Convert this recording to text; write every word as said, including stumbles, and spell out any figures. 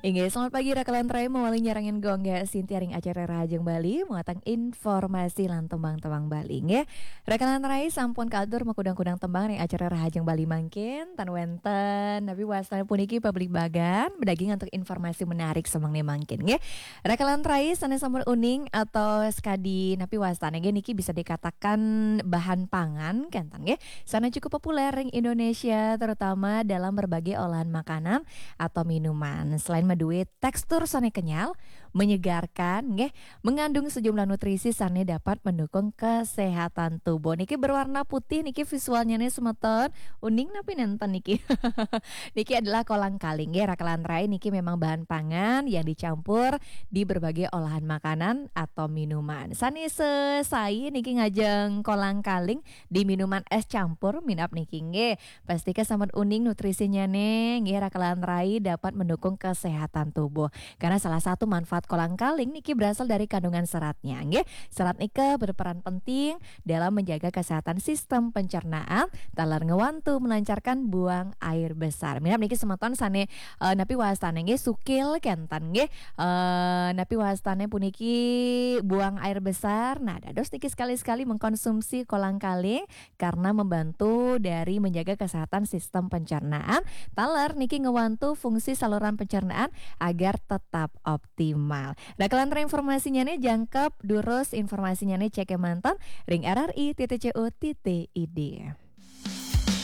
Inggih, selamat pagi Raka lan Rai, mawali nyarengin Gung Sintia ring acara Rahajeng Bali, muatan informasi lan tembang-tembang Bali, nggih. Raka lan Rai, sampun kaatur makudang-kudang tembang ring acara Rahajeng Bali mangkin, tan wenten napi wastane puniki pabligbagan, madaging antuk informasi menarik samangke mangkin, nggih. Raka lan Rai, sane sampun uning atau sakadi napi wastane, nggih, niki bisa dikatakan bahan pangan, kenten, nggih, sane cukup populer ring Indonesia, terutama dalam berbagai olahan makanan atau minuman. Selain madue tekstur sane kenyal, menyegarkan, nggih, mengandung sejumlah nutrisi sane dapat mendukung kesehatan tubuh. Niki berwarna putih niki visualnya nih, semeton. Uning napi nenten niki? Niki adalah kolang kaling, nggih, Raka lan Rai, niki memang bahan pangan yang dicampur di berbagai olahan makanan atau minuman. Sane sesai niki ngajeng kolang kaling di minuman es campur minab niki, nggih. Pastika sampun uning nutrisinya nih, nggih, Raka lan Rai, dapat mendukung kesehatan tubuh. Karena salah satu manfaat kolang kaling niki berasal dari kandungan seratnya, nggih. Serat nika berperan penting dalam menjaga kesehatan sistem pencernaan, taler ngewantu melancarkan buang air besar. Minab niki semeton sane, eh, napi wastane, nggih, sukil kenten, nggih. Eh, napi wastane puniki buang air besar. Nah, dados niki sekali-sekali mengkonsumsi kolang kaling karena membantu dari menjaga kesehatan sistem pencernaan. Taler niki ngewantu fungsi saluran pencernaan agar tetap optimal. Raka lan Rai, informasinya nih jangkep, durus informasinya nih, cek manten ring R R I titik C O titik I D.